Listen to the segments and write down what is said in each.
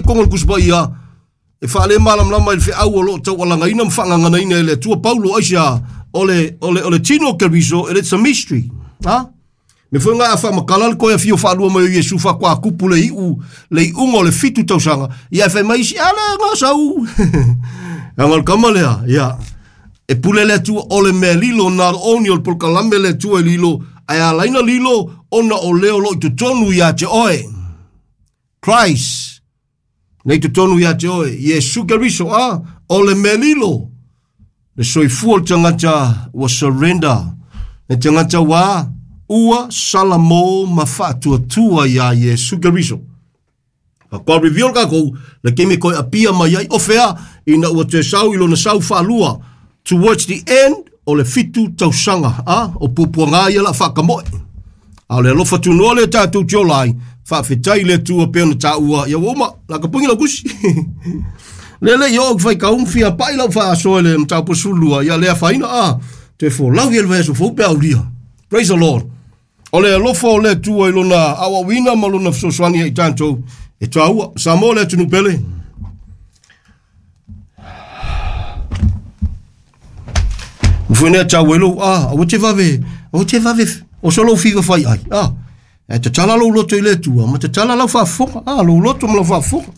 Tonu o le Tusi Paia e faalemalamalama i le feau o lo o taualagaina ma faagaganaina e le Atua Paulo aisea o le, o le, o le tino o Keriso, it is a mystery. Ha? Me foi ngā a whaamakala le koe a whio whaalua mai o Iesu whakoa kupu le iu, le iunga o le fitu tausaga. Ia e whai mai isi, ale ngā sau. Anga le kama lea, ia. E pule le Atua o le mea lilo nā oni o le polokalame le Atua e lilo, ae alaina lilo ona o leo lo i totonu ia te oe. Christ nei totonu ia te oe, Iesu Keriso, a, o le mea lilo, le soifua o le tagata ua surrender, le tagata ua ua salamo ma faatuatua iā Iesu Keriso. Faatoa reveal kākou, le taimi e toe apia mai ai, o fea, ina ua toe sau i lona sau faalua, towards the end o le fitu tausaga, a, o puapuaga ia la faakamoe. A o le alofa tunoa lea tatou te ola ai, faafetai i le Atua pei ona taua, ia ua uma, la ka pugi lau tusi. Le le i oo ki whai kaum fia pai lau whaasoa i le mataupu 12, ia le afaina, a, toe folau ia le vaiaso fou pe aulia. Praise the Lord. O le alofa o le Atua i lona aoaoina ma lona fesoasoani ia i tatou, e taua. Samoa le atunuu pele. Mfuenea tau e lou, a, aua te vave, aua te vave, o so lou fiva fai ai, a, e tatala lou loto i le Atua, ma tatala lau faafofoga, a, lou loto ma lau faafofoga.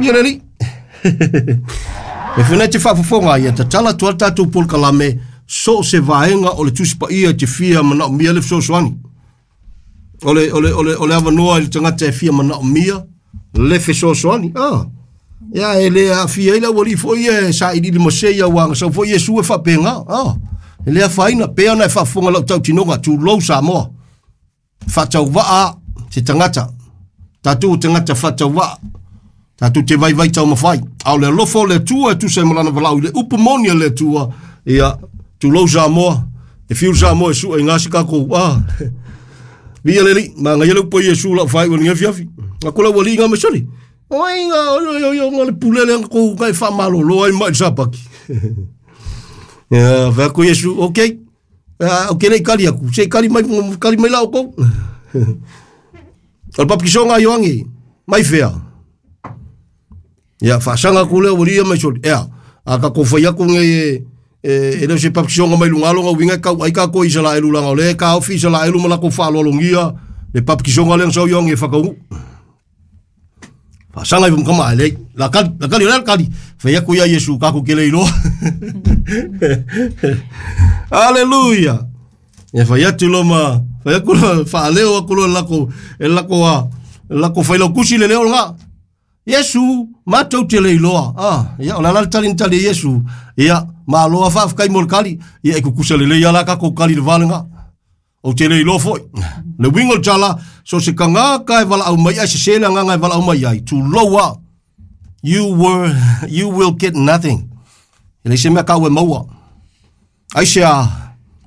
Ia le alii. E fena te faafofoga ia tatala atu ai le tatou polokalame so o se vaega o le Tusi Paia e te fia manaomia le fesoasoani. O le, o le, o le, o le avanoa i le tagata e fia manaomia le fesoasoani. Ah. Ia e le aafia ai le aualii foi ia e sailiili ma se ia aua na sau foi Iesu e faapena. Ah. E le afaina, pei ona e faafofoga lau tautinoga, tulou Samoa. Faatauvaa se tagata. Tatou o tagata faatauvaa. Tatou te vaivai taumafai. A o le alofa o le Atua e tusa ai ma lana valaau i le upu moni a le Atua, ia, tulou Samoa, e fiu Samoa e sua i ngā si kākou. Ah. Via le Alii, manaia le upu a Iesu lau faaiu i lenei afiafi. Aku lau alii ngā mai sole. Oi ngā, oi, oi, oi, oi, le pule le kou kai whaamalolo ai mai le sapaki. Ia, whai aku Iesu, okay. O ke lei kali aku, se kali mai, kali mai la o kou. O le papikisoga a Ioangi, mai fea. Ia, faasaga aku lea ua lia mai soli. Ea, a kākou fai aku nei e, e, e le o se papikisoga mai luga alo uiga e kau ai kākou i Isalaelu laga o lea e taofi Isalaelu ma lakou faaaloalogia le papikisoga lea na sau Ioangi e whakaunu. Faasaga i kama ai lei. La kali, la kali, la kali. Fai aku ia Iesu kākou ke le iloa. Hallelujah. Ia fai atu lo ma, fai aku lo, faaleo aku lo lako, e lako a, lako fai lau kusi le leo nga. Iesu, matou te le iloa. Ah, ia, o le ala le tali na tali e Iesu. Ia, malo a faafetai mo le kali. Ia, e kukusa lelei ala kākou kali le vale nga. Ou te le iloa foi. Le uiga o le tala, so se tagata e valaau mai ai, sese le agaga e valaau mai ai, tulou a. You were, you will get nothing. E leai se mea kāu e maua. Aisea,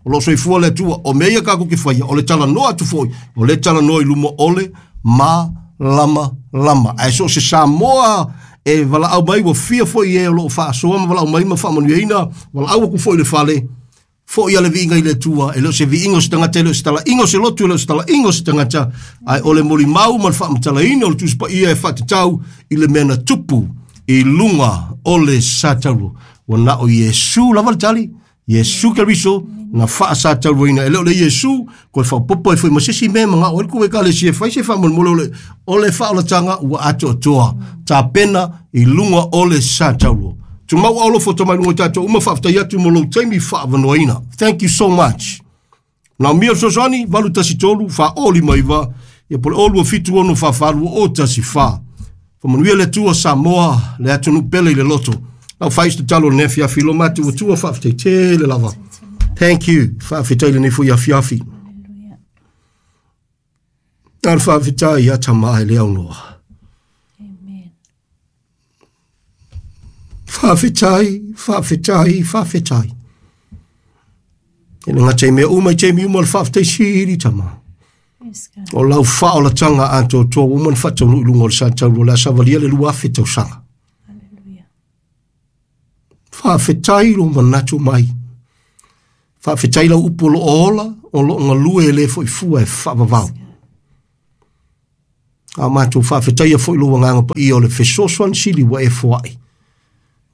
o lo o soifua le Atua, o mea ia kākou ke faia, o le talanoa atu foi, o le talanoa i luma o le malamalama. Ae so o se Samoa e valaau mai, ua fia foi e o lo o faasoa ma valaau mai ma faamanuiaina, valaau aku foi i le fale, foi a le viiga i le Atua, e le o se viiga o se tagata, e le o se talaiga o se lotu, e le o se talaiga o se tagata, ae o le molimau ma le faamatalaina o le Tusi Paia e faatatau i le mea na tupu i luga o le satauro. Ua na o Iesu lava le tali, Iesu Keriso na faasatauroina. E le o le Iesu, koe faaopoopo ai foi ma se isi mea e manao ai le kou ekalesia e fai se faamolemole o le, o le faaolataga ua atoatoa tapena i luga o le satauro. Tumau alofa o mai luga i tatou uma, faafetai atu mo lou taimi faavanoaina. Thank you so much. Manaomia le fesoasoani, 813 459, ia po o le 0276 44 014. Faamanuia le Atua Samoa, le atunuu pele i le loto. Lau fai se tatalo i lenei afiafi, lo matou Atua, faafetai tele lava. Thank you. Faafetai lenei foi afiafi. Na le faafetai ia tama e le aunoa. Amen. Faafetai, faafetai, faafetai. E le gata i mea uma i taimi uma o le faafetai sili tama. Yes, God. O lau faaolataga atoatoa ua uma ona faataunuu i luga o le satauro o le a savalia le 2000 tausaga. Hallelujah. Faafetai lou manatu mai. Faafetai lau upu o lo o ola, o lo o galue e le foi fua e faavavau. A matou faafetaia foi lou agaga paia o le fesoasoani sili ua e foai.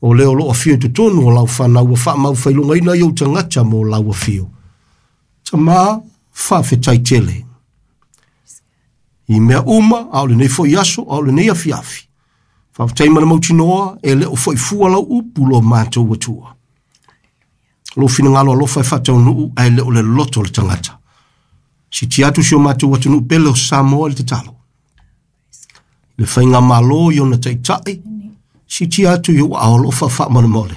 O lea o loo afio i totonu o lau fanau ua faamaufailugaina i ou tagata mo lau afio. Tamā, faafetai tele. I mea uma, a o lenei foi aso, a o lenei afiafi. Faafetai ma le mautinoa, e le o foi fua lau upu lo matou Atua. Lou finagalo alofa e faataunuu ae le o le loto o le tagata. Sitia atu si o matou atunuu pele o Samoa i le tatalo. Le faigamalo i ona taitai, sitia atu i ou aao alofa faamolemole.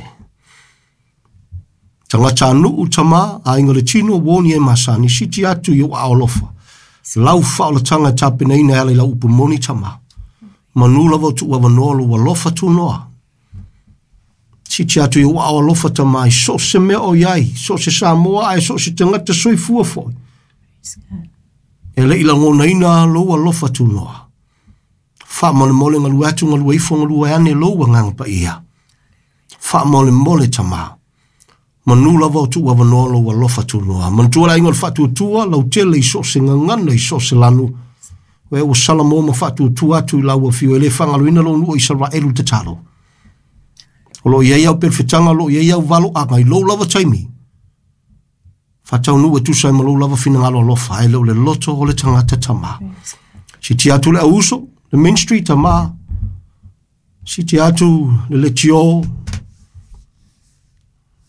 Tagata nuu tama, aiga le tino, uo ni e masani, sitia atu i ou aao alofa. Lau faaolataga e tapenaina e ala i lau upu moni tama. Manu lava o tuu avanoa lou alofa tunoa. Sitia atu i ou aao alofa tama i so o se mea o i ai, so o se Samoa ae so o se tagata soifua foi. Praise God. E le i lagonaina lou alofa tunoa. Faamolemole galue atu, galue ifo, galue ane lou agaga paia. Faamolemole tama. Manu lava o tuu avanoa lou alofa tunoa. Manatua le aiga o le faatuatua, lautele i so o se gagana, i so o se lanu. Oe ua salamo ma faatuatua atu i lau afio, e le faagaloina lou nuu o Isaraelu i le tatalo. O lo o i ai au perofetaga, o lo o i ai au valoaga i lou lava taimi. Faataunuu e tusa ai ma lou lava finagalo alofa, ae le o le loto o le tagata tama. Sitia atu le auuso, le ministry tama. Sitia atu le letio,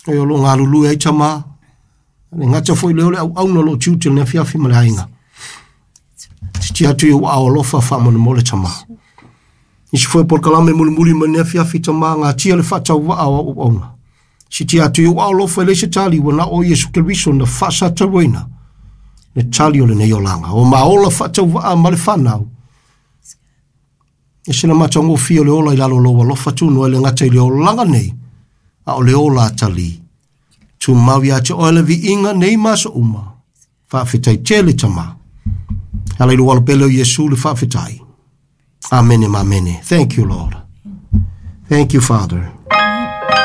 e o lo o galulue ai tama. Le gata foi lea o le auauna o lo o tiute i le afiafi ma le aiga. Sitia atu i ou aao alofa faamolemole tama. Nisi foi polokalame mulimuli mai le afiafi tama, gatia le faatauvaa o au auauna. Sitia atu i ou aao alofa e leai se tali, ua na o Iesu Keriso na faasatauaina le tali o lenei olaga. O maola faatauvaa ma le fanau. E se na matagofie o le ola i lalo o lou alofa tunoa e le gata i le olaga nei, a o le ola tali. Tumau ia te oe le viiga nei ma aso uma. Faafetai tele tama. Ala i lou alo pele o Iesu le faafetai. Amene ma amene. Thank you, Lord. Thank you, Father.